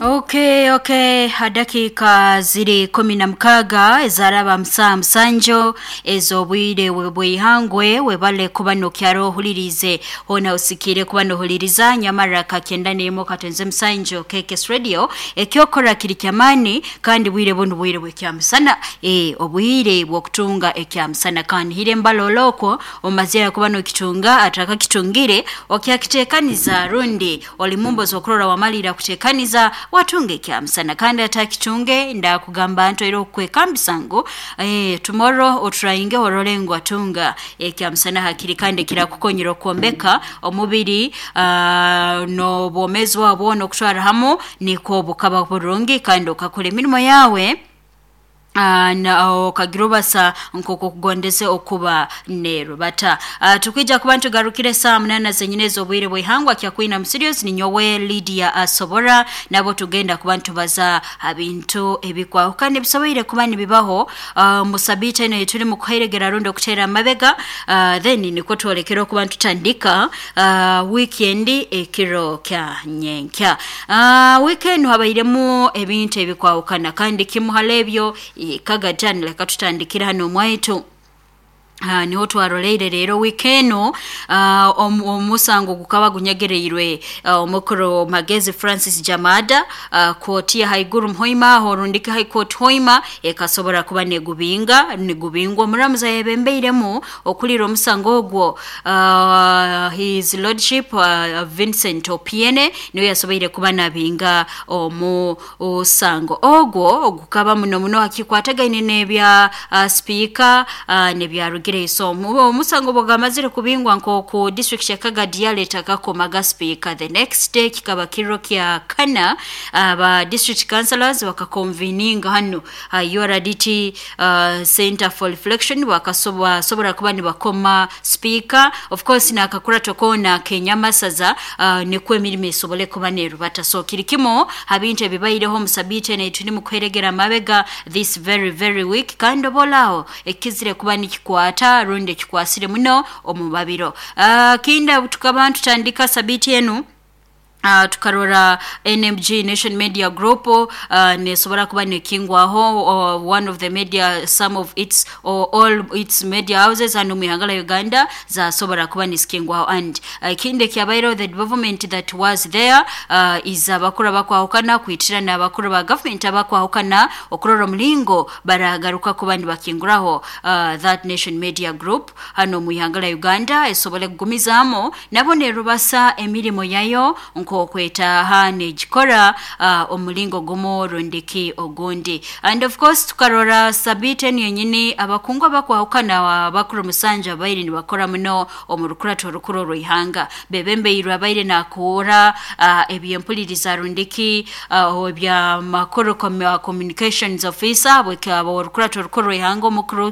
Okay, dakika ziri 16 ezaraba musaa musanju ez'obwire bw'ihangwe. Webale kuba nokyaro ohulirize hona usikire kuba nohuliriza nyamara kakenda nemo katonze musanju KKS Radio. Ekyokora kiri kyamani kandi bwire bunu bwire bw'ekyamusana, obwire bw'okutunga ekyamusana, kandi hire mbaloloko omazira kuba nokitunga atakakitungire okyakitekaniza rundi oli mumbozi okurora wamalira kutekaniza watunga ekyamusana, kandi atakitunge ndakugamba nto era okwekambisa ngu tomorrow otrayinge orole ngu atunga ekyamusana hakiri, kandi kirakukonyera okwombeka omubiri n'obwomezi bwabo n'okutwara hamu nikwo bukaba burungi, kandi okakora emirimo yawe na okagira obasa nk'oku okugondeze okuba nerubata. Tukwija kuba ntugarukire saa 8 zenyine ez'obwire bw'ihangwa kyakwina mu studios ni nyowe Lydia Asobora, nabo tugenda kuba ntubaza bintu ebikwahukana ebisoboire kuba nibibaho mu sabiiti eno turi mu kuheregera rundi okuteera amabega, then nikwo twolekera okuba ntutandika weekend ekiro kya nyenkya. Weekend habairemu ebintu ebikwahukana, kandi kimu hali ebyo kagatani leka tutandikira hano omwaitu. Niho twaroleire rero weekend omusango gukaba gunyegereirwe omukuru Magezi Francis Jamada, kooti ya haiguru muhoima aho rundiki High Court hoima ekasobora kuba negubinga nigubingwa omuramuzi ayebembeiremu okulira omusango ogwo, His Lordship Vincent Opiene niwe yasoboire kuba nabinga omusango ogwo gukaba muno muno hakikwatagaine n'ebya speaker n'ebyarugire. So omusango bwagamazire kubingwa nk'oku district ya Kagadi yaleta kakomaga speaker, the next day kikaba kiro kya kana aba district councillors bakaconveninga hano URDT Center for Reflection, bakasobora kuba nibakoma speaker, of course nakakurato kona kenyamasaza nikwo emirimo esobole kuba nerubata. So kiri kimo habintu ebibaireho musabiiti eno turi mu kuheregera amabega this very very week, kandi obolaho ekizire kuba nikikwata rundi ekikwasire muno omu babiro. Kinda tukaba tutandika sabiiti enu, tukarora NMG Nation Media Group nesobora kuba nekingwaho, one of the media, some of its or all its media houses hano mu ihanga la Uganda zasobora kuba nisikingwaho. And kindi kyabairo the development that was there is abakuru abakwahukana kwitira n'abakuru ba government abakwahukana okurora omulingo baragaruka kuba nibakinguraho that Nation Media Group hano mu ihanga la Uganda esobole kugumizamo nabo nerubasa emirimo yayo nkokwetaha negikora omulingo gumu rundiki ogundi. And of course tukarora sabiiti enu yenyini abakungu abakwahukana abakuru musanja abaire nibakora muno omu rukurato orukuru orw'ihanga bebembeirwe abaire nakuura ebyempuliriza rundiki ebyamakuru communications officer bwekaba orukurato orukuru orw'ihanga omukuru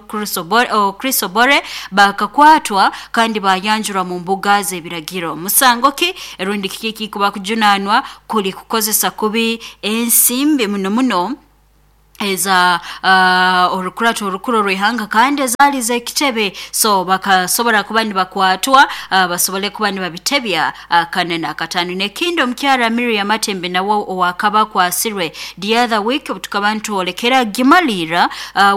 Chris Obore bakakwatwa kandi bayanjurwa mu mbuga z'ebiragiro. Musango ki rundi kiki kuba kujunanwa kuli kukozesa kubi ensimbi muno muno eza orukurato orukuru orw'ihanga kandi ezaali z'ekitebe. So bakasobora kuba nibakwatwa basobole kuba nibabitebya kana n'akataano. N'ekindi omukyara Miriam Matembe nawe owakaba akwasirwe the other week tukaba nitwolekera gimalira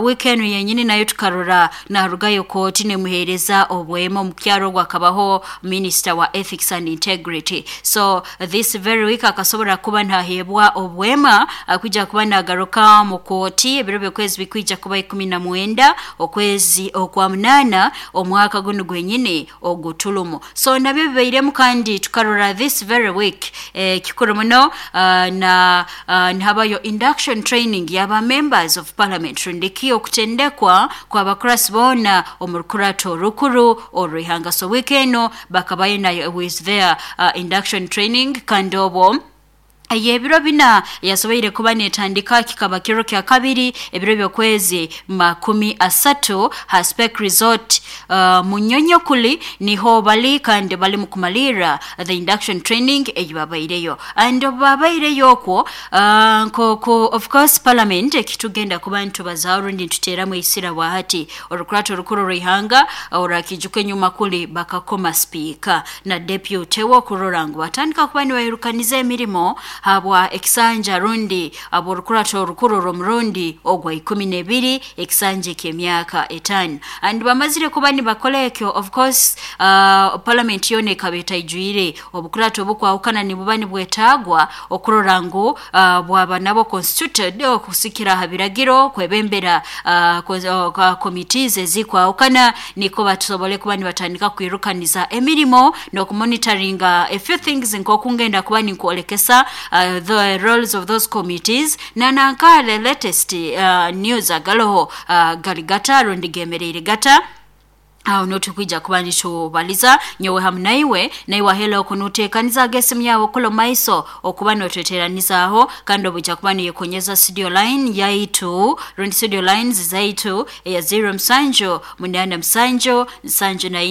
week enu yenyini nayo tukarora narugayo kooti nemuheereza obwema omukyara ogwo akabaho minister wa ethics and integrity. So this very week akasobora kuba nahebwa obwema kwija kuba nagaruka mu kooti ebiro by'okwezi bikwija kuba 19 okwezi okwa 8 omwaka guno gwenyini ogutulumu. So nabyo bibairemu kandi tukarora this very week kikuru muno na nihabayo induction training y'aba members of parliament rundiki okutendekwa kw'abakurasi boona omu rukurato orukuru orw'ihanga. So week eno bakabayo nayo with their induction training, kandi obwo ebiro bina yasoboire kuba netandika kikaba kiro kya kabiri ebiro by'okwezi 30 ha Spec Resort Munyonyokuli niho bali kandi bali mu kumalira the induction training eyibabaireyo. And babaireyo okwo nk'oku of course parliament ekitugenda kuba ntubazaho rundi ntuteeramu eisira bwahati orukurato orukuru orw'ihanga orakijuka enyuma kuli bakakoma speaker na deputy we okurora ngu batandika kuba nibairukaniza emirimo. Habwa ekisanja rundi aborukurato orukuru orw'omurundi ogwa 12, ekisanja eky'emyaka 5. And bamazire kuba nibakola ekyo, of course parliament yoona ekaba etaijwire. Obukurato obukwahukana nibuba nibwetaagwa okurora ngu bwaba nabo constituted okusikira ha biragiro kwebembera committees ezikwahukana, niko batusobole kuba nibatandika kwirukaniza emirimo n'okumonitoringa a few things, nk'okungenda kuba ninkwolekesa the roles of those committees nananka the latest news agaloho gali gata rundi gemereire gata. Aho notukwija kuba nitubaliza nyowe hamu naiwe. Naiwe ahela okunuteekaniza esimu yawe okulo maiso okuba notweteranizaaho, kandi obujja kuba niyekonyeza studio line yaitu rundi studio lines zaitu eya 07 87 74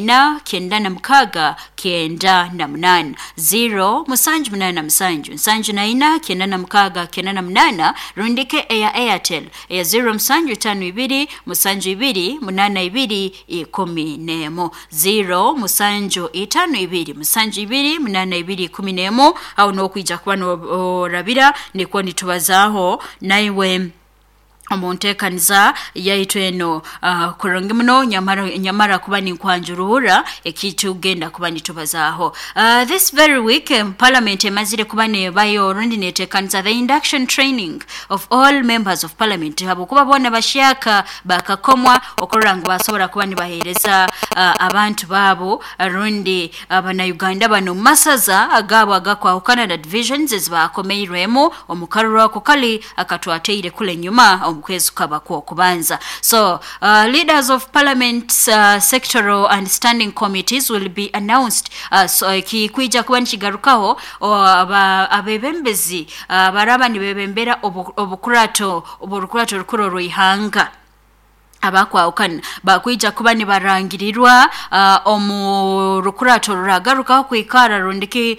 96 98, 0 7 87 74 96 98, rundike eya Airtel eya 0 7 52 72 82 11, 0 7 52 72 82 11. Aho nokwija kuba norabira nikwo nitubazaaho naiwe omu nteekaniza yaitu eno kurungi muno. Nyamara, nyamara kuba ninkwanjuruura ekitugenda kuba nitubazaaho. This very week parliament emazire kuba nebayo rundi neteekaniza the induction training of all members of parliament, habwokuba boona bashyaka bakakomwa okurora ngu basobora kuba nibaheereza abantu baabo rundi abanauganda bano mu masaza agaabo agakwahukana na divisions ezibakomeirwemu omu karuru ako kali akatwateire kule nyuma omu kwezi kukaba kwokubanza. So leaders of parliament sectoral and standing committees will be announced. So kikwija kuba nikigarukaho abebembezi baraba nibebembera obukurato oburukurato rukuru orw'ihanga abakwahukana bakwija kuba nibarangirirwa omu rukurato ruragarukaho kwikara rundiki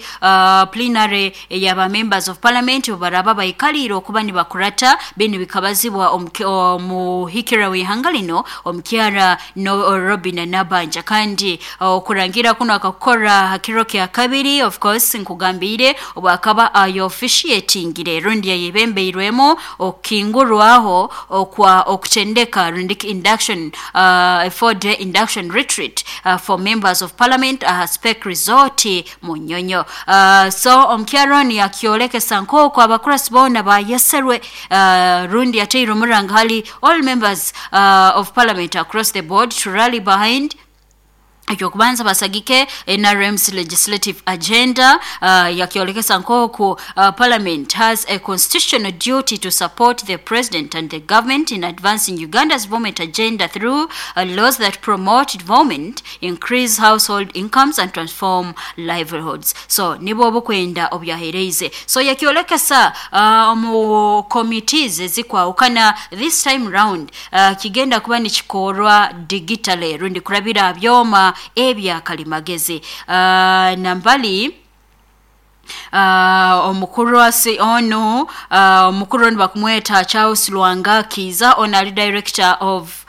plenary eyaba members of parliament baraba baikaliire okuba nibakurata binu bikabazibwa omuhikira w'ihanga lino omukyara no Robin Nabanja. Kandi okurangira kuno akakukora hakiro kya kabiri, of course nkugambiire obwakaba ayo officiatingire rundi yayebembeirwemu okukingurwaho okwa okutendeka rundiki induction, a 4-day induction retreat for members of parliament Speke Resort Munyonyo. So omukyaro oni yakyolekesa nk'oku abakurasi boona bayeserwe rundi yateire omuranga hali all members of parliament across the board to rally behind, ekyokubanza basagike NRM's legislative agenda. Yakyolekesa nk'oku parliament has a constitutional duty to support the president and the government in advancing Uganda's development agenda through laws that promote development, increase household incomes and transform livelihoods. So nibwo obukwenda obyahereize. So yakyolekesa omu committees ezikwawukana this time round kigenda kuba nikikorwa digitally rundi kurabira byoma ebyakalimagezi. Nambali omukuru asi onu omukuru onu bakumweta Charles Lwanga Kiza, ono ali director of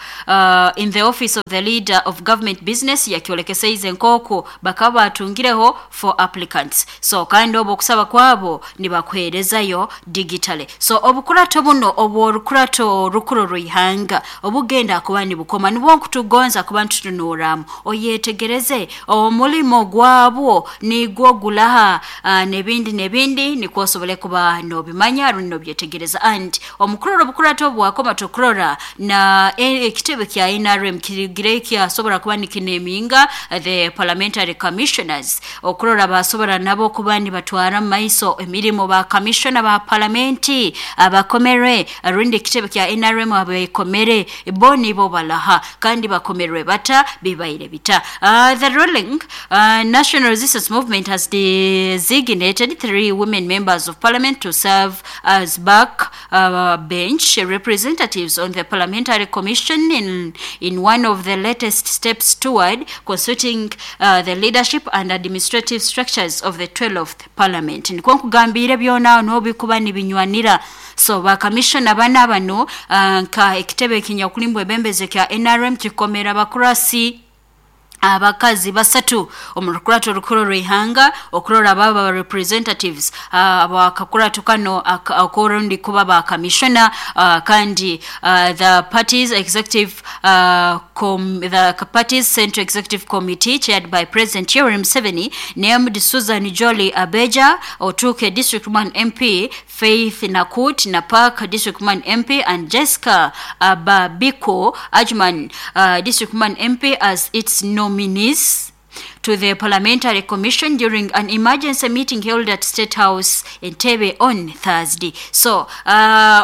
in the office of the leader of government business, yakyolekeseize nk'oku bakaba batungireho for applicants. So kandi obwo okusaba kwabo nibakuheerezayo digitally. So obukurato buno obworukurato rukuru rw'ihanga obugenda kuba nibukoma nibwo nkutugonza kuba nitutunuuramu oyetegereze omulimo gwabwo nigwo gulaha n'ebindi n'ebindi nikwo osobole kuba nobimanya rundi nobyetegereza. And omukurora obukurato obwakoma tukurora na ekitebe kya NRM kirigire kyasobora kuba nikineminga the parliamentary commissioners okurora basobora nabo kuba nibatwara mu maiso emirimo ba commissioner ba parliamenti abakomere rundi ekitebe kya NRM abekomere bo nibo balaha kandi bakomerwe bata bibaire bita. The ruling National Resistance Movement has designated three women members of parliament to serve as back bench representatives on the parliamentary commission in one of the latest steps toward consulting the leadership and administrative structures of the 12th parliament. Nikwo nkugambire byona nobikuba nibinywanira. So bakamishona bana bano nka ekitebe ekinyakulimbwa ebembeze kya NRM kikomera bakurasi. Abakazi basatu omu rukurato rukuru rw'ihanga okurora baba representatives abakakurato kano akorundi kuba ba commissioner, kandi the party's executive the party's central executive committee, chaired by President Yoweri Museveni, named Susan Jolly Abeja, Otuke District 1 MP, Faith Nakut, Napak District 1 MP, and Jessica Ababiko, Ajman District 1 MP, as its nominees to the Parliamentary Commission during an emergency meeting held at State House Entebbe on Thursday. So,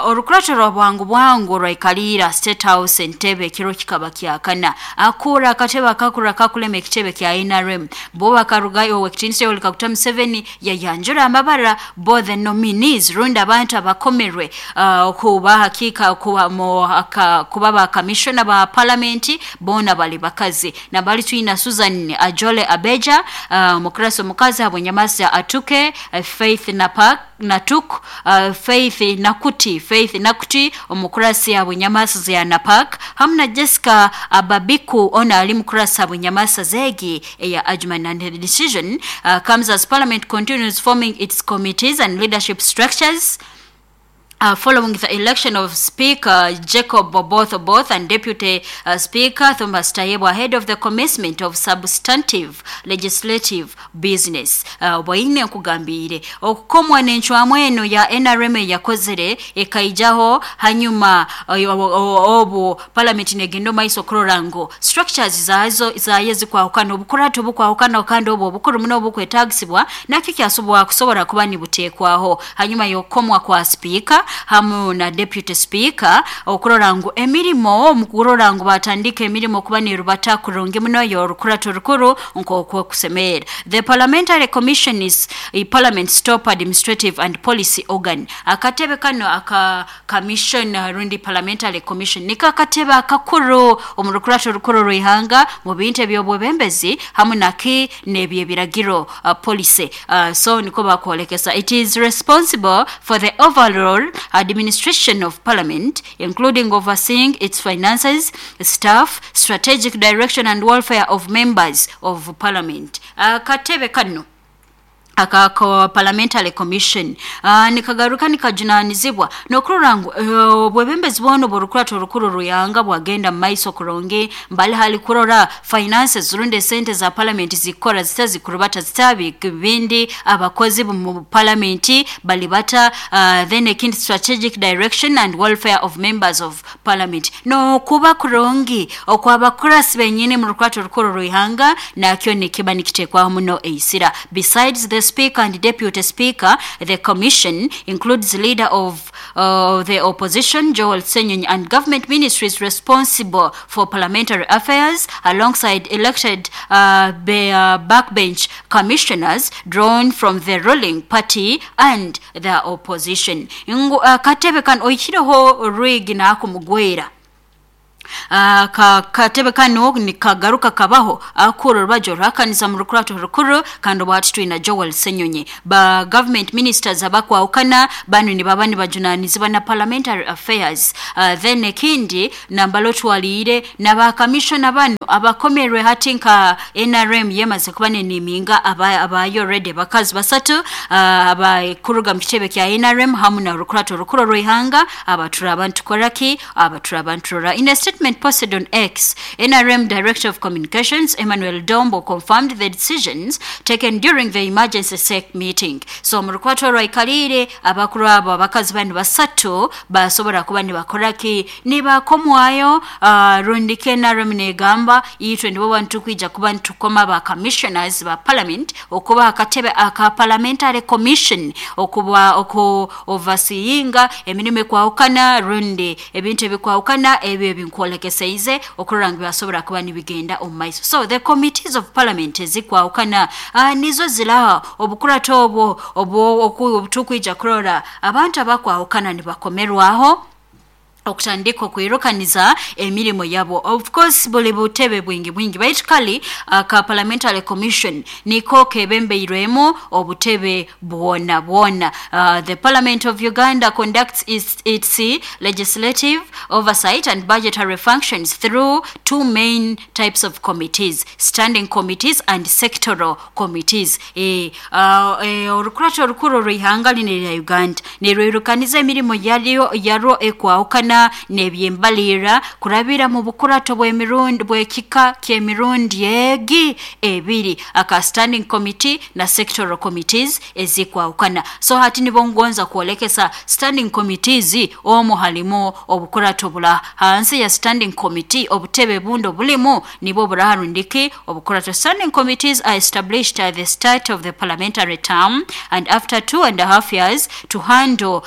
orukurato rwa bwangu bwangu rwaikalira State House Entebbe kiro kikaba kyakana. Akura akatebe akakura kakulema ekitebe kya NRM. Bo bakarugayo owekitiinisa Yoweri Kaguta Museveni yayanjura amabara bo the nominees, rundi abantu abakomerwe kuba hakika kuba mo kuba ba commissioner ba parliament, bona bali bakazi. Na bali twina Susan Ajole Abeja, mukurasi omukazi habwenyamasa Atuke, Faith Napak Natuk, Faith Nakuti, Faith Nakuti omukurasi habwenyamasa ya Napak, hamna Jessica Ababiku ona ali mukurasi habwenyamasa zegi eya Ajman. And the decision comes as parliament continues forming its committees and leadership structures following the election of Speaker Jacob Oboth Oboth and Deputy Speaker Thomas Tayebwa ahead of the commencement of substantive legislative business. Bwaine nkugambire okukomwa n'encwamu eno ya NRM yakozere ekaijaho hanyuma obu parliament negenda maiso okurora ngu structures zazo zaye zikwahukana, obukurato bukwahukana, kandi obwo obukuru muno obukwetagisibwa nakyo kyasobora kusobora kuba nibuteekwaho hanyuma y'okukomwa kwa speaker hamu na deputy speaker, okurora ngu emirimo omukurora ngu batandika emirimo kuba nirubata kurungi muno yorukurato rukuru nk'okwo kusemera. The Parliamentary Commission is a parliament's top administrative and policy organ. Akatebe kano aka commission, rundi parliamentary commission, niko akatebe akakuru omu rukurato rukuru rw'ihanga mu bintu eby'obwebembezi hamu naki n'ebyebiragiro, policy. So niko bakwolekesa. It is responsible for the overall administration of parliament, including overseeing its finances, staff, strategic direction and welfare of members of parliament. Akatebe kano aka parliamentary commission nikagaruka nikajunanizibwa nokurora ngu obwebembezi bwono borukurato rukuru ruyanga bwagenda mu maiso kurungi, mbali hali kurora finances rundi sente za parliament zikora zitazikurubata zitabi bindi, abakozi mu parliament balibata, then ekindi strategic direction and welfare of members of parliament, no kuba kurungi okwabakurasi benyine mu rukurato rukuru ruyanga nakyo nikiba nikitekwaho muno eisira. Besides the Speaker and Deputy Speaker, the commission includes leader of the opposition, Joel Ssenyonyi, and government ministries responsible for parliamentary affairs, alongside elected backbench commissioners drawn from the ruling party and the opposition. Katebe kan oikireho rwigi nakumugwera. Katebe kano nikagaruka kabaho akuru rubajo ruhakaniza mu rukurato rukuru, kandi bwati twina Joel Ssenyonyi, ba government ministers abakwawukana bano ni baba nibajunanizibwa na parliamentary affairs. Then ekindi nambalo twalire n'aba commissioner bano abakomerwe hati nka NRM yemaze kuba neniminga abayo already bakazi basatu abakuruga mu kitebe kya NRM hamu na rukurato rukuru rw'ihanga abatura abantu koraki abatura abantu. In a statement posted on X, NRM Director of Communications Emmanuel Dombo confirmed the decisions taken during the emergency SEC meeting. So mu rukwato rwaikalire abakuru abo abakazi bano basatu basobora kuba nibakoraki nibakomwayo, rundi NRM negamba itwe nibo bantu kwija kuba ntukoma ba commissioners ba parliament okuba akatebe aka parliamentary commission okuba oku overseeinga emirimo ekwawukana rundi ebintu ebikwawukana ebyo ebinkwolekeseize okurora ngu basobora kuba nibigenda omu maiso. So the committees of parliament ezikwawukana nizo zilaha obukurato obwo obutukwija kurora abantu abakwawukana nibakomerwaho. Okutandika okwirukaniza emirimo yabo. Of course buli butebe bwingi bwingi, baitu kali ka Parliamentary Commission niko kebembeirwemu obutebe bwona bwona. The Parliament of Uganda conducts its legislative oversight and budgetary functions through two main types of committees: standing committees and sectoral committees. Orukurato orukuru rw'ihanga lino erya Uganda nirwirukaniza emirimo yaryo yarwo ekwahukana n'ebyembalirra kurabira mu bukurato bw'emirundi bw'ekika ky'emirundi egi ebiri, aka standing committee na sectoral committees ezikwahukana. So hati nibo ngonza kwolekesa standing committees, omu halimu obukurato bula hansi ya standing committee, obutebe bundi obulimu nibwo buraharundiki obukurato. Standing committees are established at the start of the parliamentary term and after 2.5 years to handle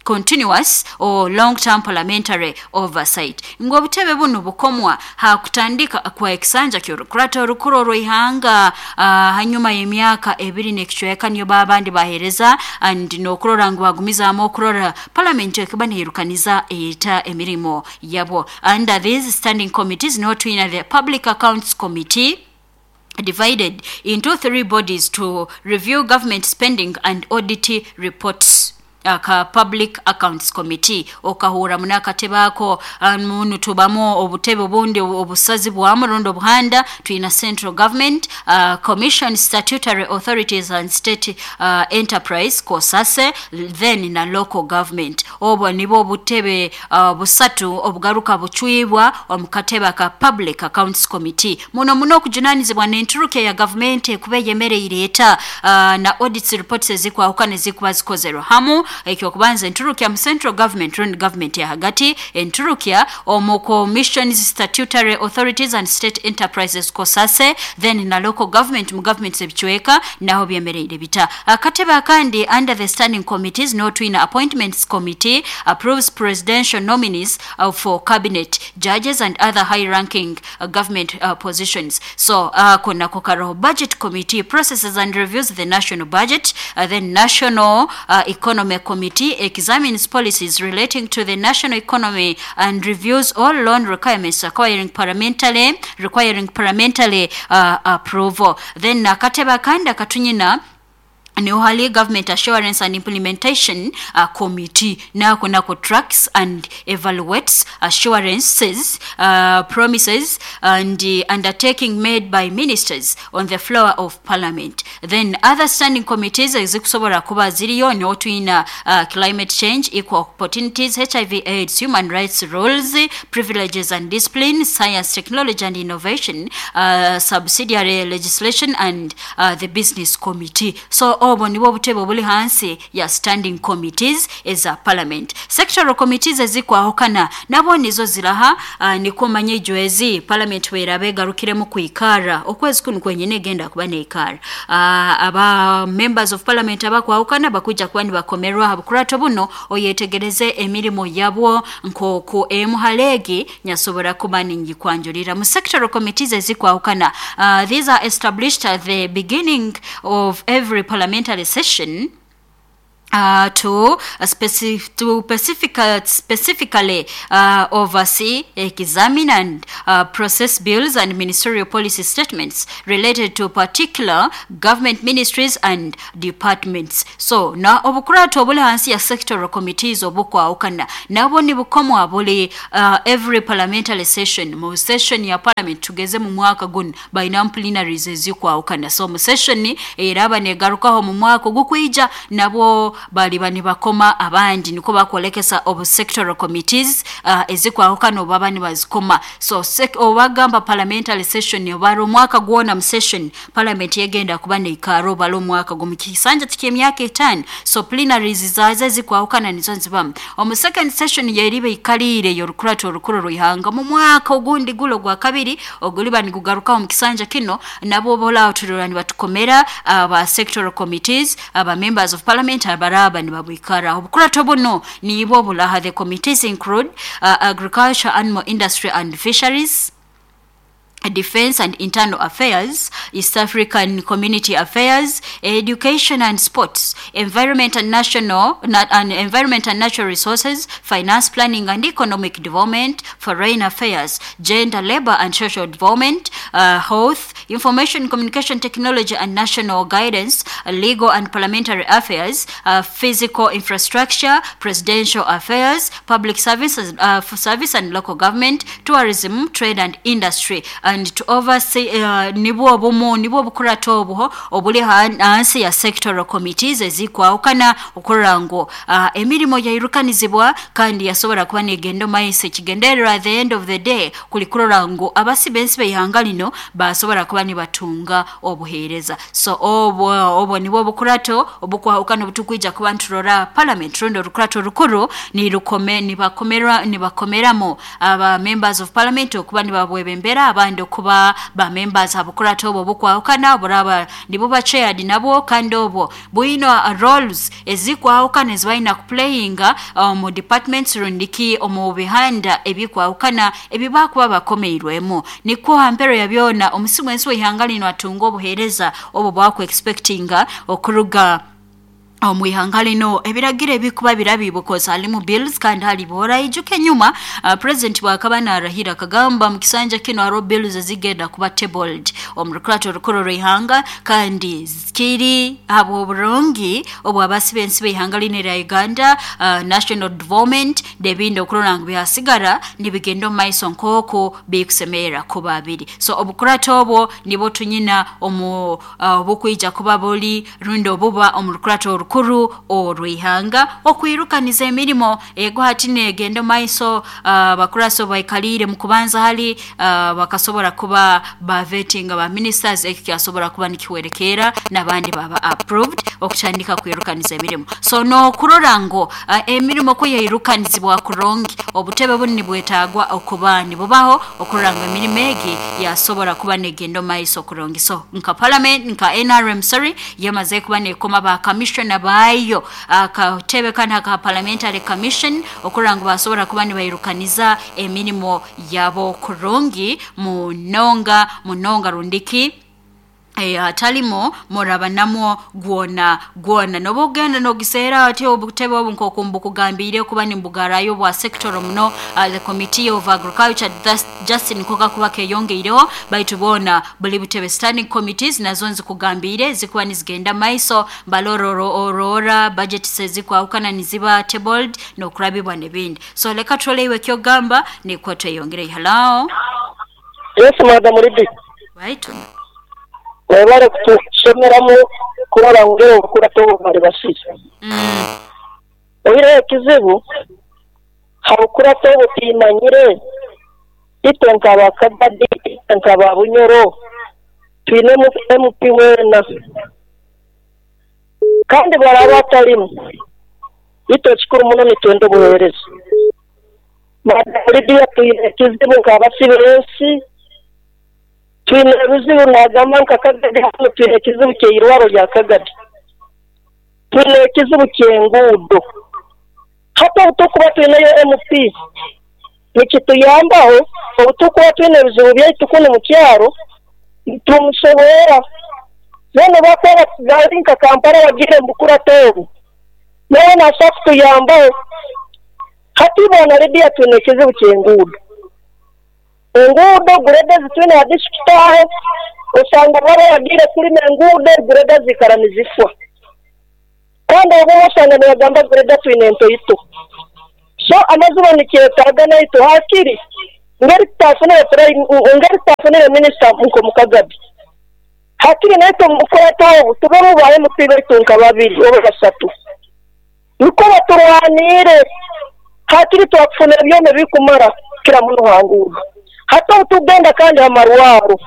continuous or long term parliamentary oversight. Ngu obutebe bunu bukomwa hakutandika kwa ekisanja ky'orukurato orukuru orw'ihanga, hanyuma y'emyaka 2 n'ekicweka, niyo babandi bahereza and n'okurora ngu bagumizaamu okurora parliament ekuba neyirukaniza eyita emirimo yabo. Under these standing committees niho twina the Public Accounts Committee, divided into three bodies to review government spending and audit reports. Aka Public Accounts Committee okahura munakatebe ako munu tubamu obutebe obundi obusazi bwamu rundi obuhanda. Twina Central Government Commission, Statutory Authorities and State Enterprise, COSASE, then na Local Government. Obwo nibwo obutebe busatu obugaruka bucwibwa omu katebe aka Public Accounts Committee. Muno muno okujunanizibwa n'enturuka ya gavumenti ekuba eyemereire eta, na audits reports ezikwahukana ezikuba zikozerwe hamu. Ekyokubanza, enturukya mu central government rundi government ya hagati, enturukya omu commissions, statutory authorities and state enterprises, COSASE, then na local government, mu government ebicweka naho byemereire bita. Akatebe akandi under the standing committees no twina Appointments Committee, approves presidential nominees for cabinet, judges and other high ranking government positions. So konako karoho. Budget Committee processes and reviews the national budget. Then National Economy Committee examines policies relating to the national economy and reviews all loan requirements requiring parliamentary approval. Then akatebe akandi akatunyina niho hali Government Assurance and Implementation Committee. Nako tracks and evaluates assurances, promises and undertaking made by ministers on the floor of parliament. Then other standing committees ezikusobola kuba ziriyo niho twina Climate Change, Equal Opportunities, HIV AIDS, Human Rights, Rules, Privileges and Discipline, Science, Technology and Innovation, Subsidiary Legislation and the Business Committee. So obwo nibwo obutebe obuli hansi ya standing committees eza parliament. Sectoral committees ezikwahukana nabo nizo ziraha. Niko manye ijwezi parliament weraba egarukiremu kwikara okwezi kunu kwenyine egenda kuba neikara, aba members of parliament abakwahukana bakuja kuba nibakomerwa ha bukurato buno, oyetegereze emirimo yabwo nkoku emu halegi nyasobora kuba ningikwanjulira mu sectoral committees ezikwahukana. These are established at the beginning of every parliamentary session to specifically oversee, examine, and process bills and ministerial policy statements related to particular government ministries and departments. So na obukurato obuli hansi ya sectoral committees obukwawukana nabo nibukomwa buli every parliamentary session. Mu session ya parliament, tugeze mu mwaka guno balina plenaries ezikwawukana, so mu session eraba negarukaho mu mwaka ogukwija nabo baliba nibakoma abandi, niko bakwolekesa obu sectoral committees ezikwahukana obaba nibazikoma. So obagamba parliamentary session obara omwaka gwona, mu session parliament yegenda kuba neikara obala omwaka gumu kisanja tikyemyaka 5. So plenaries zaza ezikwahukana nizo nzibamu omu second session yeriba ikaliire yorukurato orukuru rwihanga mu mwaka ogundi gulo gwa kabiri oguliba nigugarukaho mu kisanja kino, nabo bola turora nibatukomera aba sectoral committees, aba members of parliament abaraba nibabwikara. Obukurato buno nibo bulaha. The committees include Agriculture, Animal Industry and Fisheries, Defense and Internal Affairs, East African Community Affairs, Education and Sports, Environment and National and Environment and Natural Resources, Finance Planning and Economic Development, Foreign Affairs, Gender, Labor and Social Development, Health, Information Communication Technology and National Guidance, Legal and Parliamentary Affairs, Physical Infrastructure, Presidential Affairs, Public Services, Service and Local Government, Tourism, Trade and Industry, and to oversee nibwo obumu nibwo obukurata obuho obuli hansi ya sectoral committees ezikwahukana okurora ngu emirimo yairukanizibwa kandi yasobora kuba negenda maiso. Ekigendererwa at the end of the day kuli kurora ngu abasibensi b'eihanga lino basobora kuba nibatunga obuheereza. So obwo nibwo obukurato obukwahukana obutukwija kuba nturora parliament rundi orukurato rukuru nirukome nibakomerwa nibakomeramo aba members of parliament okuba nibabwebembera abandi okuba ba members abukurato obwo bukwahukana buraba nibuba chaired nabwo, kandi obwo bwino roles ezikwahukana ezibalina kuplayinga mu departments rundiki omu bihanda ebikwahukana ebibakuba bakomeirwemu. Nikwo hampero ya byona omusimu ensi w'eihanga lino atunga obuheereza obwo bwaku expectinga okuruga omwihanga lino. Ebiragiro ebikuba birabi because halimu bills kandi hali bora ijuke nyuma president bwakaba narahira akagamba mu kisanja kino hariho bills ezigenda kuba tabled omu rukurato rukuru rw'eihanga, kandi kiri habw'oburungi obwabasibensi b'eihanga lino erya Uganda, national development n'ebindi okurora ngu byasigara nibigenda omu maiso nk'oku bikusemerera kuba biri. So obukurato obwo nibwo tunyina omu obukwija kuba buli rundi obuba omu rukurato rukuru orw'eihanga okwirukaniza emirimo ego hati negenda maiso. Bakuraso baikalire mu kubanza hali bakasobora kuba bavetinga ba ministers, eki kyasobora kuba nikiwerekera n'abandi baba approved okutandika kwirukaniza emirimo. So nokurora ngu emirimo ko yairukanizibwa kurungi, obutebe bunu nibwetagwa okuba nibubaho okurora ngu emirimo egi yasobora kuba negenda maiso kurungi. So nka parliament nka NRM sorry yamaze kuba nekoma ba commissioner bayo akatebe kana ka parliamentary commission okurora ngu basobora kuba nibairukaniza emirimo yabo kurungi munonga munonga rundiki atalimo muraba namwo gwona gwona nobugenda nogisera ati obutebe obu nkokumbukugambire kuba nimbugarayo bwa sector muno. The committee of agriculture Justin koka kuba keyongeireho baitu bona buli butebe standing committees nazo nzikugambire zikuba nizigenda maiso balororo orora budget sezikwahukana niziba tabled nokurabibwa nebindi. So leka tuoleiwe kyogamba nikwo tweyongere. Hello. Yes, madam Ridi. Right. Webale kutusomeramu kurora ngero obukurato bali basiza. Oire ekizibu habukurato obutimanyire itwe nkaba Kagadi nkaba Bunyoro twine MP wena kandi baraba atalimu itwe ekikuru muno nitwenda obuheereza. Madam Lydia twine ekizibu nk'abasibensi twine ebizibu nagamba nka Kagadi hano twine ekizibu ky'eirwaro rya Kagadi, twine ekizibu ky'enguudo. Hati obutukuba twineyo MP nikituyambaho, obutukuba twine ebizibu byaitu kunu mu kyaro tumusoboora. Bene bakuba bari nka Kampala bagire mubukurato obu nawe nasobola kutuyambaho. Hati bona Lydia twine ekizibu ky'enguudo, enguudo greda zitwine ha district aho osanga baba bagire kulima enguudo greda zikara nizifwa, kandi obumwe osanga nibagamba greda twine entoito. So amazima nikyetaaga naitu hakiri ngeri tutafunire minisita nko Mukagabi hakiri naitwe mubukurato obu tubemu ba MP baitu nka babiri oba basatu niko baturwanire hakiri twakufuna ebyoma ebikumara kira muno ha nguudo. Hata obutugenda kandi amarwaro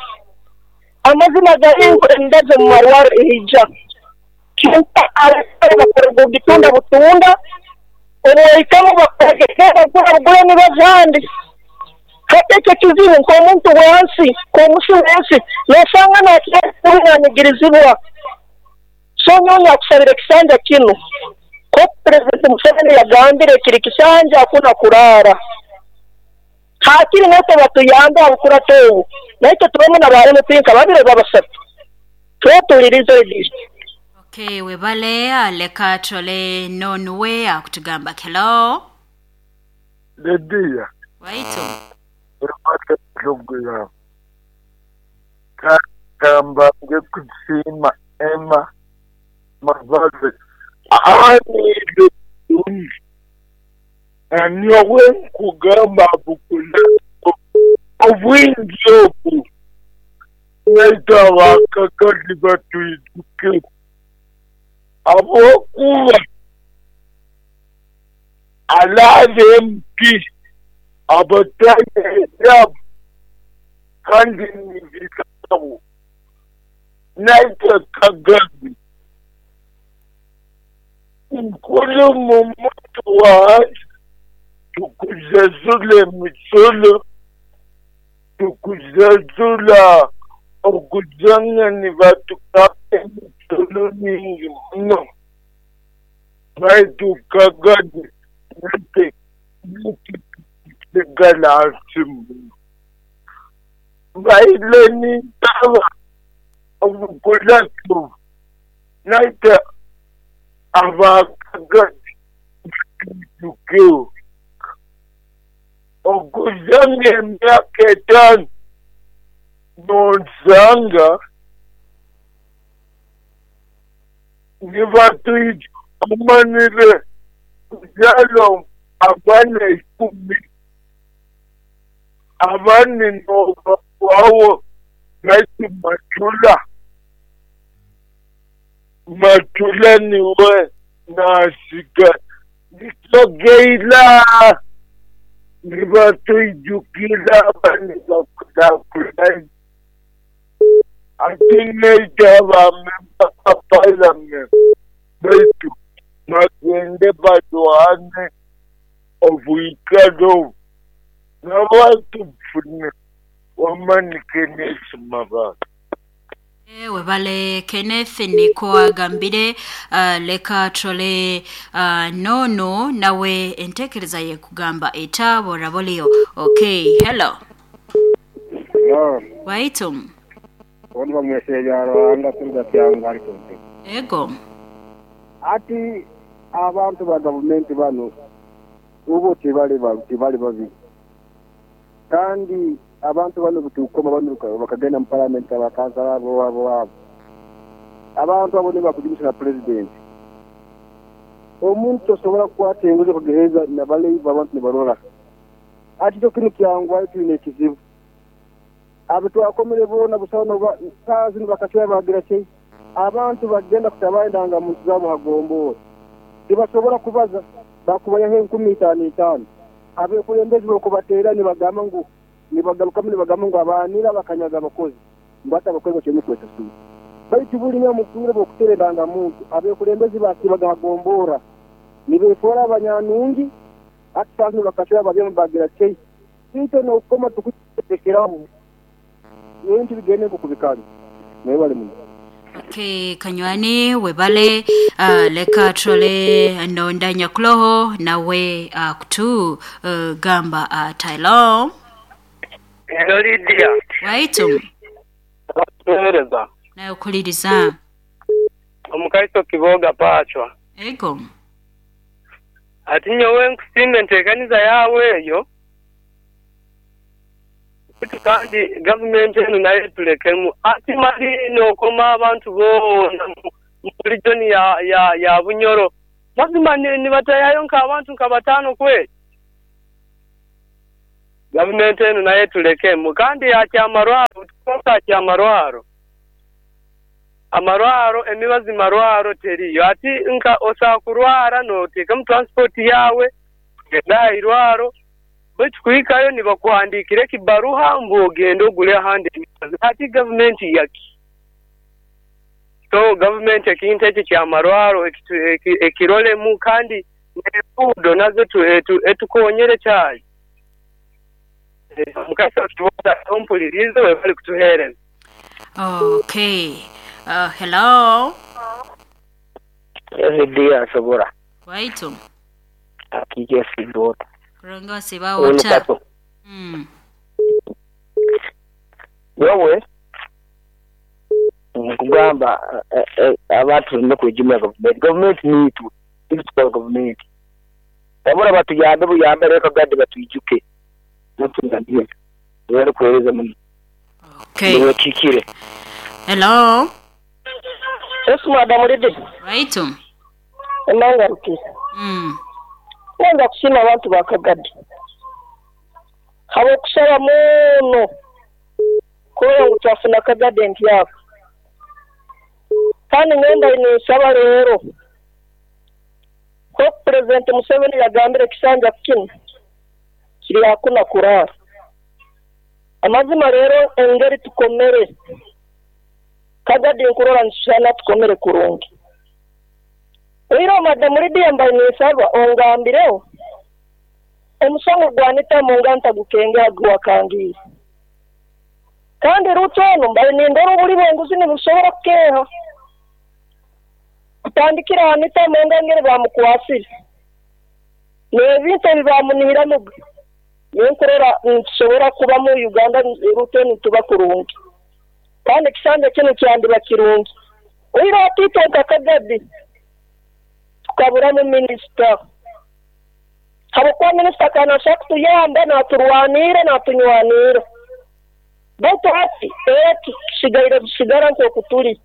amazima gari endazo mu marwaro ehija kyonka abasawo bakorerwa butunda butunda obuhikamu bakora bagura nibazandi. Hati ekyo kizibu nk'omuntu wansi nk'omusi wensi nosanga nakyanyigirizibwa. So nyowe nakusabira ekisanja kino ko President Museveni yagambire kiri kisanja hakuna kurara, hakiri natwe batuyambe abukurato obu. Naitwe tubemu na ba MP nka babiri oba basatu. Twetuulirize Lydia. Okay, webale leka tole nonuwe akutugamba hello. Lydia. Waitu. Webale pulogulaamu. Ka mbanze kusiima Emma Mbabazi aghaniire bulungi. Nyowe nkugamba bukulato obwingi obu naitwe abakakali batwijukireku habwokuba alaaba MP abataine ebyabo kandi ni birabo naitwe Kagabi nkulu mu muntu wahansi tukuzazula emisolo, tukuzazula okuzanga nibatukaka emisolo mingi muno baitu Kagabi naitwe tusigala hansi muno. Mbaire ninsaba obukulatu naitwe aba Kagabi batwijukeho. Okuzanga emyaka etaano nonsanga nibatwija omanire kuzaala abaana ikumi abandi nobagwawo baitu Matula Matula niwe nasiga nitogeila nibatwijukira abandi bakulakulanye ate naitwe abamemba ba palamenti baitu bagende balwane obwikalo obu n'abantu bufune wamani Kenneth Mabala. Webale Kenneth niko agambire leka tole nono nawe entekereza ye kugamba etabora bolio. Okay, hello. Hello. Waitum. Wonva mwesejaro anga turuga kyanga alikonte. Ego. Ati abantu ba government bano ubo tibali babi. Kandi abantu bano butukoma bano bakagenda mu parliament abakansala abo abo. Abantu abo ne bakujimisha na president. Omuntu osobola kukwata enguzi kugereza nabale abantu ne barora. Ati kyo kinu kyangwa tuyine ekizibu. Abitwakomere bona busano kazi bakachwa bagira ki abantu bagenda kutabaindanga muntu zabo hagombora. Tibasobola kubaza bakubayaho 15,000. Abekulembezi bokubateera nibagamba ngu nibagarukamu nibagamba ngu abanira bakanyaga abakozi mbata abakozi bakye kwesasula. Baitu buli mukuru bokutereranga muntu abekulembezi basibaga hagombora nibefora abanyanungi ati bakachwa bagema bagira ki kito nokoma tukutekeraho ebintu bigende kubikanga naye bali muno. Okay, kanywani webale leka trole ndonda nyakuloho nawe kutu gamba Taylor. Hello Lydia. Waitum. Tuhereza. Nayo kuliriza. Omukaiso kiboga pachwa. Ego. Ati nyowe nkusimbe ntekaniza yawe eyo. Kandi government eno naye tulekemu ati mali nokoma abantu boona mu region ya Bunyoro mazima ni batayayo nka abantu nka batano kwe government eno naye tulekemu kandi yakyamarwaro tukonka kyamarwaro amarwaro emibazi marwaro teriyo ati nka osakurwara noteka mu transport yawe kugenda irwaro baitu kuhikayo nibakuhandikire kibaruha mbu ogende ogule ahandi ati government yaki so government ekintu ekyo kyamarwaro ekirolemu kandi n'enguudo nazo etukonyere kyayi mukasa tuboda ompulirize we bali kutuhereza. Okay. Hello. Lydia asobora. Waitu. Akije sidota. Kuranga siba wota. Yowe nkugamba abantu tulina kwejumira gavumenti. Gavumenti niitwe, itwe tukora gavumenti. Wabula batuyambe buyambe leka gadi batwijuke. Webale kuweereza muno. Okay. Niwekikire. Hello. Yes, Madam Lidi. Right. Enangarukire. Nenda kusiima abantu ba Kagadi. Habwokusaba muno kurora ngu twafuna Kagadi empyaka. Kandi ngenda ninsaba leero nk'oku Pulezidenti Museveni yagambire ekisanja kinu kiri hakuna kuraara. Amazima leero engeri tukomere Kagadi nkurora nitusana tukomere kurungi. Oiro Madam Lydia mbaye ninsaba ongambireho omusango gwanita munga ntagukengera gwakangiire. Kandi Ruto ono mbaye nindora obuli bw'enguzi nibusobora kukeeha. Kutandikira Anita Among ngeri bamukwasire. N'ebintu ebi bamunihiramu ninkurora nitusobora kuba mu Uganda Ruto nituba kurungi. Kandi ekisanja kinu kyandiba kirungi. Oiro atiitwe nka Kagadi tukaburamu minisita. Habwokuba minisita kanashaka kutuyamba naturwanira natunywanira. Baitu hati eki kisigaire busigara nk'oku turi.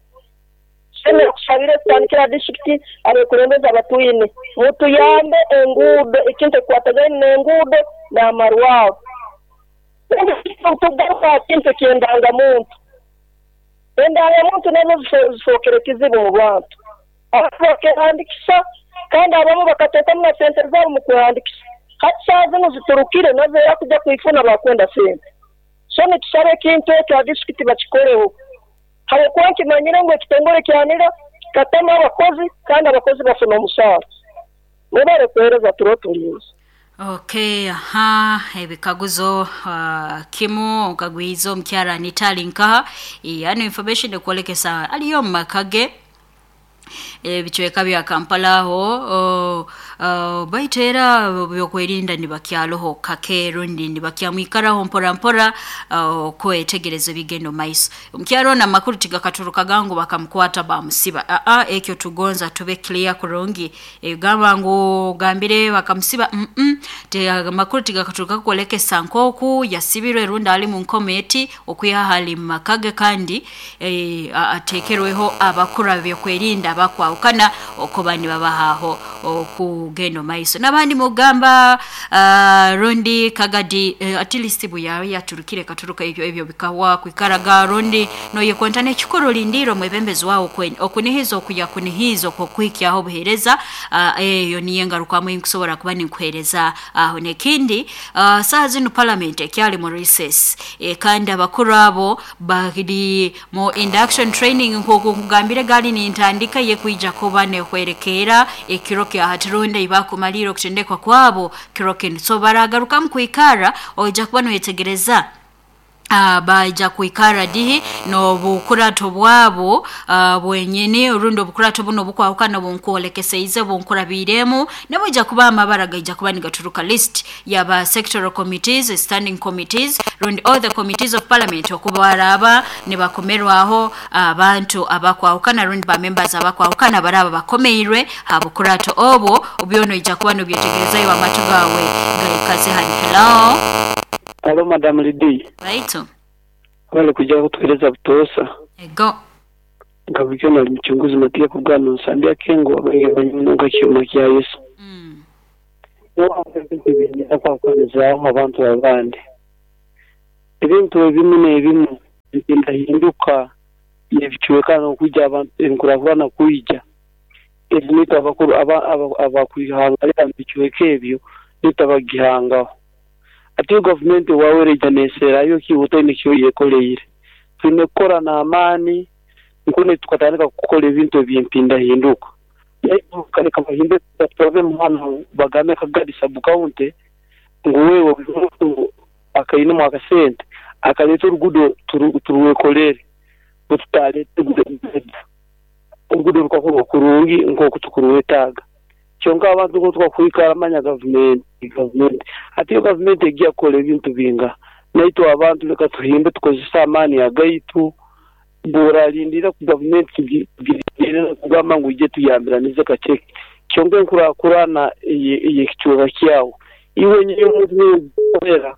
Sene kusabire kutandikira disitulikiti abekulembeze abatwine mutuyambe enguudo ekintu ekikwatagaine n'enguudo n'amarwaro. Tugaruka aha kintu eky'endangamuntu. Endangamuntu nazo zifookere kizibu mu bantu. Abantu bakehandikisa kandi abamu bakateekamu na sente zaabo mu kwehandikisa. Hati saaha zinu ziturukire nazo era kujja kwifuna bakwenda sente. So nitusaba ekintu ekyo aha disitulikiti bakikoreho. Habwokuba nkimanyire ngu ekitongole kyanira kikatamu abakozi kandi abakozi bafuna omusaara. Mwebale kuheereza turo tulinze. Okay, aha, ebikaguzo kimu okagwiza omukyara Anita ali nkaha. Yani information ekwolekesa aliyo mu maka ge ebicweka bya Kampala aho baitu era byokwerinda nibakyaloho kake rundi nibakyamwikaraho mpora mpora okwetegereza ebigendo maiso. Omukyaro ono amakuru tigakaturukaga ngu bakamukwata bamusiba. Ekyo tugonza tube clear kurungi. Egamba ngu gambire bakamusiba amakuru tigakaturuka kwolekesa nkoku yasibirwe rundi ali mu nkometi okwiha hali mu maka ge kandi atekerweho abakuru byokwerinda bakwawukana okuba nibabahaho okugenda maiso. N'abandi mugamba rundi Kagadi at least buyawe yaturukire katuruka ebyo bikawa kwikaraga rundi noyekonta n'ekikuru lindiro mwebembezi wawo okunihiza okuyakunihiza okukwikyaho obuheereza eyo niyo engarukamu enkusobora kuba ninkuheereza aho. N'ekindi saaha zinu parliament ekyali mu recess kandi abakuru abo bari mu induction training nk'oku nkugambire gali nintandika ye kwija kuba nehwerekera ekiro kya hati rundi ibakumalira okutendekwa kwabo kiro kinu. So baragarukamu kwikara oija kuba noyetegereza baija kwikara dihi n'obukurato bwabo bwenyini orundi obukurato buno obukwahukana bunkwolekeseize bunkurabiremu nabwija kuba amabara gaija kuba nigaturuka list yaba sectoral committees, standing committees rundi all the committees of parliament okubaraba nibakomerwaho abantu abakwahukana rundi ba members abakwahukana baraba bakomeirwe habukurato obwo obyono ija kuba nobyetegerezayo amatu gawe gaikaze hani. Hello. Hello, Madam Lidi. Right. Wale kuja kutueleza butosa. Ego. Ngabikyo na mchunguzi matia kugana nsambia kengo abanyunga kyuma kya Yesu. Kwa kwanza abantu abandi. Ebintu ebimu n'ebimu bigenda nebichweka no kujja abantu enkuravana kuija. Ebintu abakuru abakwihanga bichweka ebyo nitabagihangaho. Ati government wawereja neserayo kibuta nikyo yekoleire. Twine kukora n'amaani nkune tukatandika kukola ebintu ebyempinda hinduka. Kaleka bahinde tuve muhano bagame Kagadi sub county ngu wewe akaine mu akasente akaleta orugudo turuwekolere bututale orugudo rukakorwa kurungi nk'oku tukuruwetaaga. Kyonka abantu ngo twakwikara manya government ati yo government egiya kola ebintu binga Naitwe abantu leka tuhimbe tukozese amaani agaitu. Bw'oralindira ku gavumenti tugirindire kugamba ngu ije tuyambiranize kaceke. Kyonka enkurakurana ey'ekicweka kyawe. Iwe nyine omuntu niwe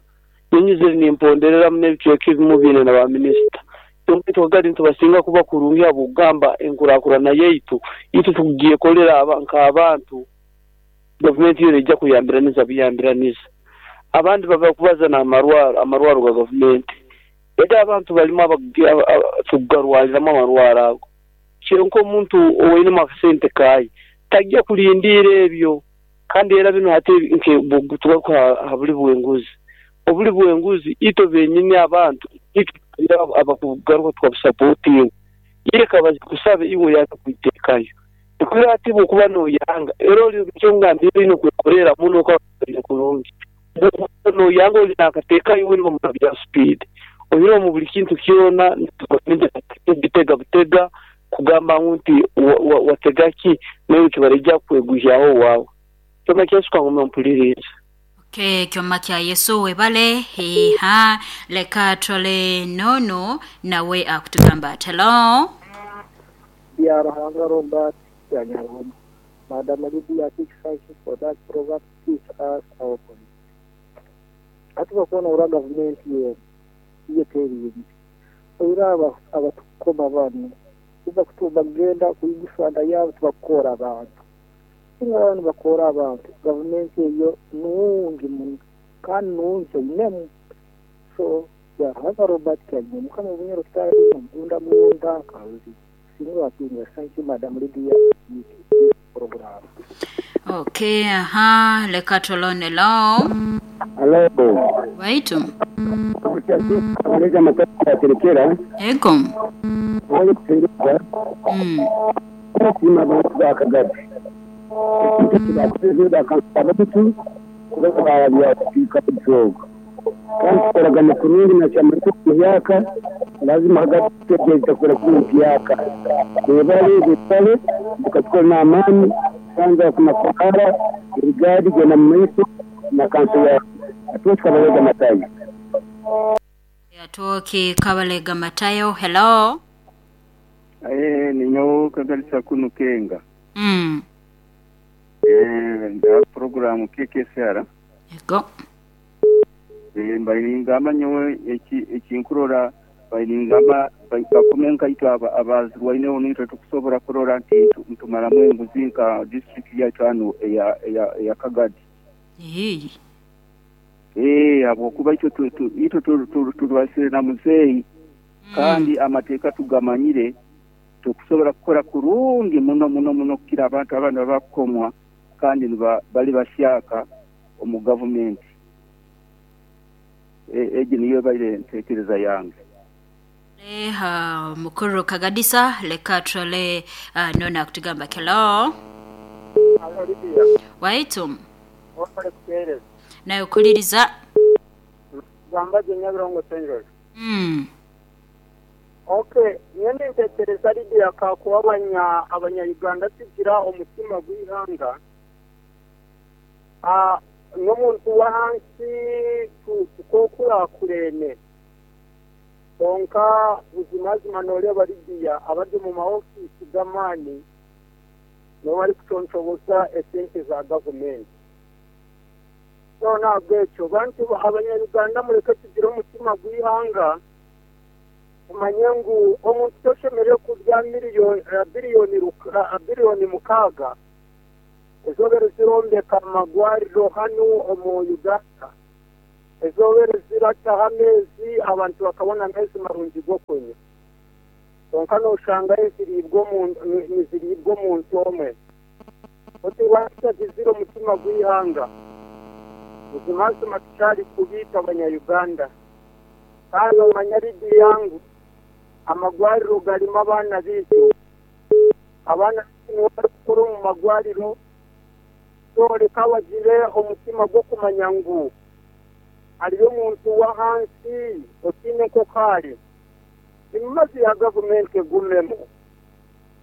nyinyize nimpondereramu n'ebicweka ebimu biine na baminisita. Kyonka itwe Kagadi nitubasinga kuba kurungi habw'okugamba enkurakurana yaitu itwe tukugyekolera nk'abantu. Gavumenti yo neija kuyambiraniza buyambiraniza. Abandi baba kubaza n'amarwaro, amarwaro ga gavumenti. Eda abantu balimu tukugarwariramu amarwaro ago. Kyonka omuntu owainemu akasente kaaye tajja kulindiira ebyo. Kandi era binu hati tugaruka ha buli bw'enguzi. Obuli bw'enguzi itwe benyini abantu itwe abakugaruka tukabusapotinga. Ireka bazikusabe iwe oyange kwiteekayo. Ekiro hati bw'okuba n'oyanga era oli kyonga oine okwekorera muno okaba kurungi. Bw'okuba n'oyanga oli n'akateekayo iwe nibo bya speed. Oihireho mu buli kintu kyona bitega butega kugamba ngu nti watega ki nawe kibarija kweguhyaho waawe. Kyoma kya Yesu kangume mpulirize. Okay, kyoma kya Yesu webale hiha leka tole nono nawe akutugamba ati hello. Ya Ruhanga Robert Kyanyarwoma. Madam Lydia, thank you for that program. Teach us our politics. Ati bakuona ura gavumenti yenu iye teriyingi oira abatukoma bano kuba kutubagenda kuyigusanda yabo tubakora abantu singa abantu bakora abantu gavumenti eyo nungi muno kandi nungi inemu. So ya Ruhanga Robert Kyanyarwoma mukama bunyoro kitara mugunda munda karuzi singa watinga. Thank you Madam Lydia program. Okay, aha, leka tolone lo. Hello. Waitu. Abaleza amataka yaterekera. Ego. Wali kutereka. Kusima abantu ba Kagadi. Ekintu kibakutezeera akantu kuba barabya kupiika ebyogo. Kandi tukoragana kurungi na chama myaka lazima hagati tutegereza kora kuri myaka. Bebale bebale tukatukora n'amaani kwanza kuna fakara irigadi gena maiso na kanso ya atuka Kabalega Matayo. Atoki Kabalega Matayo. Hello. Ninyo kagalisa kunu kenga. Nda program KKSR. Ego. Mbainingamba nyowe ekinkurora bainingamba bakumenka itwa abazirwaine onitwe tukusobora kurora nti ntumalamu enguzi nka district yaitu hano eya Kagadi. Habwokuba itwe turwasire na muzeeyi kandi amateeka tugamanyire tukusobora kukora kurungi muno muno muno kukira abantu abandi bakukomwa kandi bali bashyaka omu gavumenti. Egi niyo baire ntekereza yange. Mukuru Kagadisa leka trole nona kutugamba hello. Hello Lydia. Waitu. Wafale kutereza. Nayo kuliriza. Gamba jenyabirongo senjoro. Okay, nyene ntekereza Lydia ka kuba abanya Uganda tugira omutima gw'ihanga. N'omuntu wa hansi tukokura kurene. Konka buzimazima noreba Lydia abari mu maofisi g'amaani no bari kuconcoboza esente za gavumenti. So nabwekyo bantu abanyarwanda mureke tugira omutima gw'ihanga umanye ngu omuntu toshemereire kurya biliyoni 6 ezobere zirombeka amagwariro hano omu Uganda ezobere zirataho amezi abantu bakabona amezi marungi g'okunywa. Konka noshanga niziribwa omuntu omwe. Oti lwaki omutima gw'ihanga buzimazima tukyali kubiita abanya-Uganda. Kandi omanya Lydia yangu amagwariro garimu abaana biitu. Abaana nibo barikukora omu magwariro so reka bagire omutima gw'okumanya ngu hariyo omuntu wa hansi otiine nkokaari. Emimazi ya gavumenti egumemu.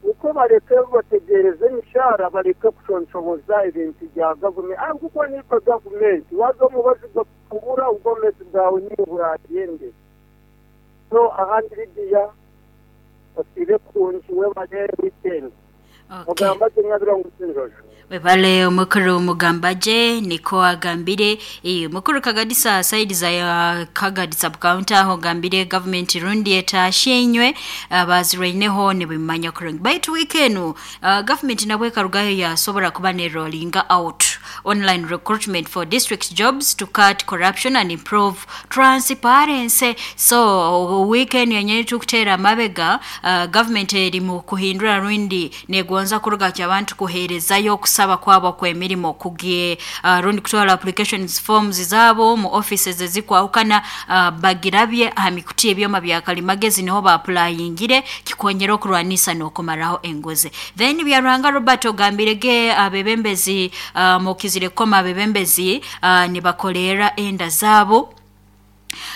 Nikwo baleke bategereze emishahara, baleke kushonshoboza ebintu bya gavumenti. Ahabw'okuba niitwe gavumenti, waaza omubazi gakubura obwomeezi bwawe niiwe buraagende. So ahandi Lydia osiibe kurungi webale weekend. Okay. Mugambagye Nyabirongo Kinjojo. Webale omukuru Mugambaje niko agambire mukuru Kagadisa side za Kagadi sub county aho gambire government rundi etashenywe abazirwaineho nibimanya kurungi baitu weekend government nabwe karugayo yasobora kuba ne rolling out online recruitment for district jobs to cut corruption and improve transparency. So weekend yenyewe tukutera mabega, government eri mu kuhindura rundi negonza kuruga ky'abantu kuherezayo okusaba kwabo kw'emirimo kugie rundi kutwara applications forms zabo mu offices ezikwahukana, bagirabye aha mikuti ebyoma bya kalimagezi niho baapulayingire kikonyera okurwanisa n'okumaraho enguzi. Then Byaruhanga Robert ogambire ge abebembezi, mukizire koma abebembezi nibakolera enda zabo.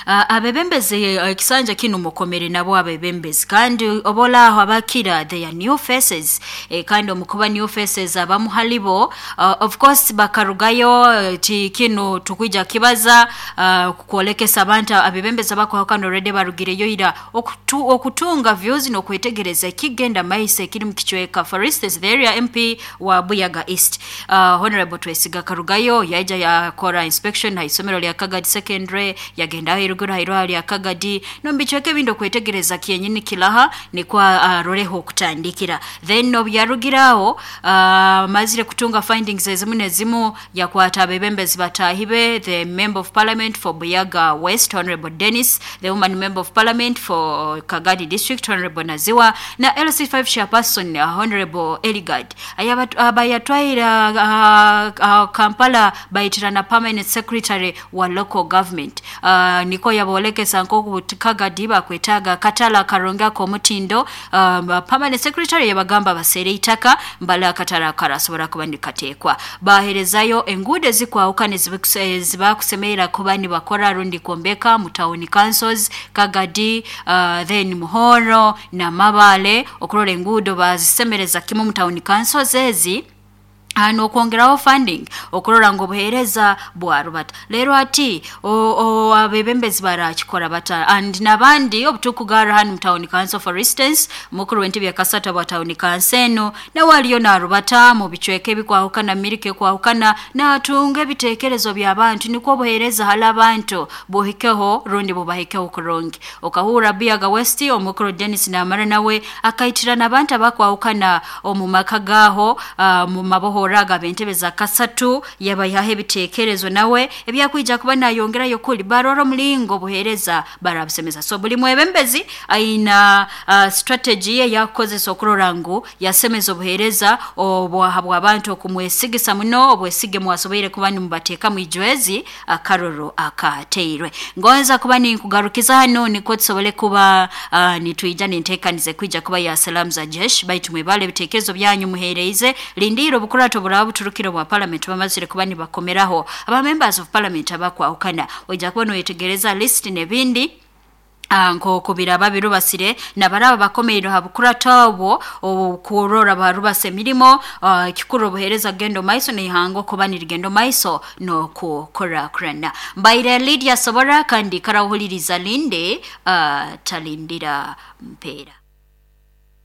Abebembezi ekisanja kinu mukomere nabo abebembezi kandi obola aho abakira they are new faces, kandi omukuba new faces abamu halibo, of course bakarugayo ti kinu tukwija kibaza kukwolekesa abantu abebembezi abakwahukana already barugireyo ira okutunga views n'okwetegereza ekigenda maiso ekiri mu kicweka. For instance, the area MP wa Buyaga East, Honorable Twesiga karugayo yaija yakora inspection ha isomero lya Kagadi Secondary, yagenda aho eruguru ha irwaro lya Kagadi nomubicweka ebindi okwetegereza kyenyini kilaha nikwo aroleho okutandikira. Then obu yarugiraho amazire kutunga findings ezimu nezimu yakwata abebembezi bataahi be, the member of parliament for Buyaga West Honorable Dennis, the woman member of parliament for Kagadi District Honorable Naziwa, na LC5 chairperson Honorable Eligard abayatwaire Kampala baitirana permanent secretary wa local government, niko yabolekesa nkoku Kagadi bakwetaaga katala akarungi ak'omutindo. Permanent secretary yabagamba baseere itaka mbala akatala karasobora kuba nikateekwa. Baherezayo enguudo ezikwahukana ezibakusemerera kuba nibakora rundi kwombeka mu town councils Kagadi, then Muhoro na Mabale, okurora enguudo bazisemereza kimu mu town councils ezi, n'okwongeraho funding okurora ngu obuheereza bwarubata. Leero ati abebembezi barakikora bata? And n'abandi obutukugarra hanu mu town council, for instance mukuru w'entebe ya kasata bwa town council eno nawe aliyo narubata mu bicweka ebikwahukana mirika ekwahukana natunga ebitekerezo by'abantu nikwo obuheereza hali abantu buhikeho rundi bubahikeho kurungi. Okahura Buyaga West omukuru Dennis Namara nawe akaitirana abantu abakwahukana omu maka gaho, mu mabohora aga bentebe za kasatu yabayihaho ebitekerezo nawe ebyakwija kuba nayongerayo kuli barora omulingo obuheereza barabusemeza. So buli mwebembezi aina strategy ye yakukozesa okurora ngu yasemeza obuheereza obwaha bw'abantu okumwesigisa muno obwesige mwasoboire kuba nimubateeka mwijwezi akaroro akateirwe. Ngonza kuba ninkugarukiza hano nikwo tusobole kuba nitwija ninteekanize kwija kuba ya salamu za jeshi baitu mwebale ebitekerezo byanyu muhereize lindiro obukurato buraba buturukire bwa parliament bamazire kuba nibakomeraho aba members of parliament abakwahukana oija kuba noyetegereza list n'ebindi nk'oku biraba birubasire nabaraba bakomeire ha bukurata obwo okurora barubasa emirimo, kikuru obuheereza kugenda maiso n'ihanga okuba nirigenda maiso n'okukurakurana. Mbaire Lydia Sobora kandi karawuhuliriza linde talindira mpeera.